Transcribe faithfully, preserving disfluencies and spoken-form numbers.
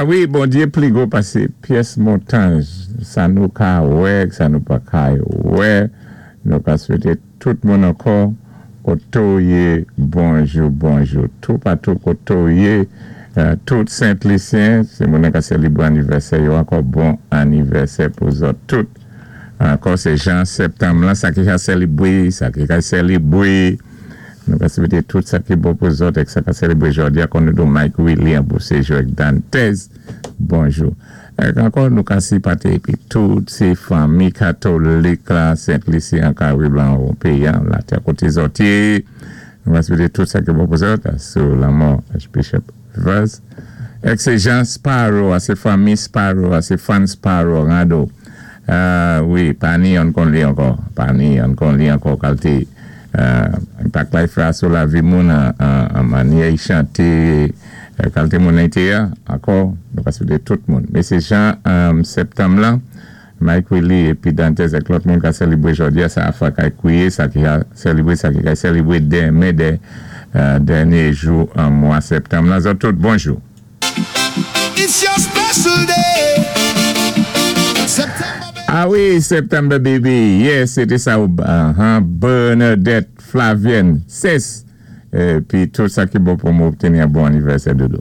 A wi, Bondyé pli gwo pasé pyès montay, sa nou ka wè, sa nou pa ka wè, nou ka swété tout moun ankò, koto yé, bonjou, bonjou, tou patou koto yé, tout Sent-Lisyen, sé moun ka sélibwé anivèsè yo ankò bon anivèsè pou zòt tout. Ankò sé jan septanm lan, sa ki ka sélibwé, sa ki ka sélibwé, nou ka swété tout sa ki bon pou zòt èk sa ka sélibwé jòdi a kon nou do Mike William pou sejou èk Dantez, bonjou. Èk ankò nou ka sipate épi tout sé fanmi katolik la, Sent-Lisyen, Karib lan, ou péyi an, latè koté zòt yé, nou ka swété tout sa ki bon pou zòt, sou lanmò Archbishop Rivers. Èk sé Jean Sparrow, a sé fanmi Sparrow, a sé fan Sparrow, Rado. Euh, wi, pani an kon li ankò, pani an kon li ankò kalté enpak la fè sou lavi moun an mannyè i chanté kalté moun été ankò, nou ka swété tout moun. Mé sé jan septanm lan, Mike Willie épi Dantez èk lòt moun ka sélibwé jòdi a, sa a fwa kay kwié, sa ki ka sélibwé, sa ki ka sélibwé denmen dé dènyé jou an mwa septanm lan. Zòt tout, bonjou. It's your special day. September. A wi, September baby. Yes, sété sa ou uh, Bernadette Flavienne. Sès. Épi tout sa ki bon pou mwen obteni yon bon anivèsè dodo.